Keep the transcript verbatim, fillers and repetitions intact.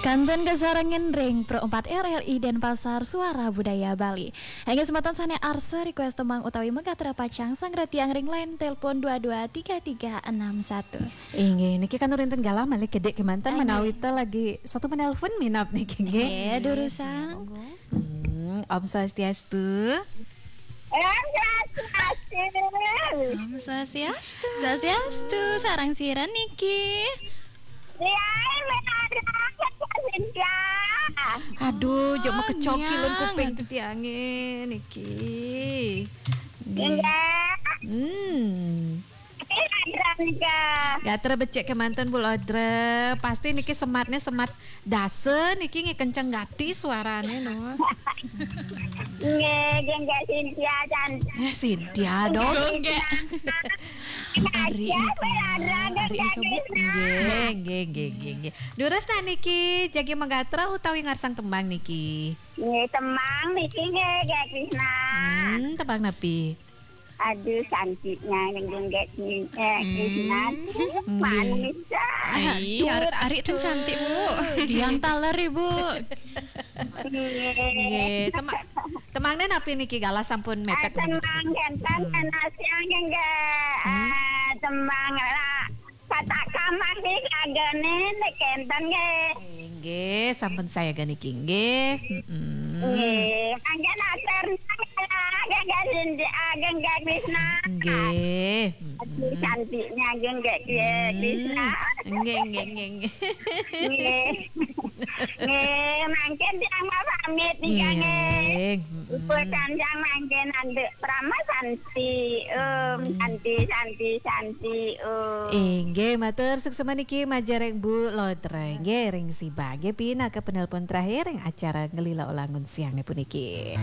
Kantun kasarengin ring Pro empat R R I Denpasar, Suara Budaya Bali. Inggih semeton sane arsa request tembang utawi magatra pacang, sanggra tiang ring line telepon dua dua tiga tiga enam satu. Inggih, niki kantun wenten galah malih kedik kemanten. Inggih. Menawi ta lagi satu menelpon minab niki, nggih. Nggih, durusang. Monggo. Hmm, Om Swastiastu. Om Swastiastu. Om Swastiastu. Swastiastu, sareng sira niki? Riai menara Cynthia. Aduh, jok Oh, mekecoki lun nyang. Kuping tetiange niki. Nggih. Nggih. Hmm. Tapi Lodra nika. Gatra becik kemanten, Bu Lodra. Pasti niki sematnya semat dasa niki nggih, kenceng gati suarane, no. Nggih, nggih, nggih, Cynthia cantik. Eh, Cynthia dong. Nggih. Ari Ya, nika. Bu Lodra, Ari nggih, nika, Bu. Nggih. Nggih, nggih, nggih, nggih, nggih. Durus ta niki, jagi magatra utawi ngarsang tembang niki? Nggih, tembang niki nggih, nggih, Krisna. Hmm, tembang napi? Aduh, cantiknya yang nggih, eh, Krisna. Hmm. Nggih. Manis, ah. Ai, Aduh, ar-, ari ten aduh. Cantik, Bu. Tiang taler, Ibu. Nggih. Nggih, tema-, tembangne napi niki, galah sampun mepet Ah, tembang niki? Kenten, Hmm. Kenten Asiang nggih, Hmm. Ah, tembang la-, Kata Kamang niki agane nek kenten nggih. Inggih, sampun sayaga niki nggih. Mm-mm. Nggih, mangke atur nggih, nggih, nggih, Krisna. Nggih. Aduh, Mm-mm. Cantiknya nggih, nggih, nggih, Hmm. Krisna. Nggih, nggih, nggih, nggih. Nggih. Nggih, mangke tiang mau pamit nika nggih. Nggih. Mm-mm. Ibu Sanjang mangke nanduk Prama Santi, Om. Hmm. Santi, Santi, Santi, Om. Inggih, matur suksma niki majeng ring Bu Lodra. Nggih, ring Sibang. Nggih, pinaka penelpon terakhir ring acara Ngelila Olangun siang puniki.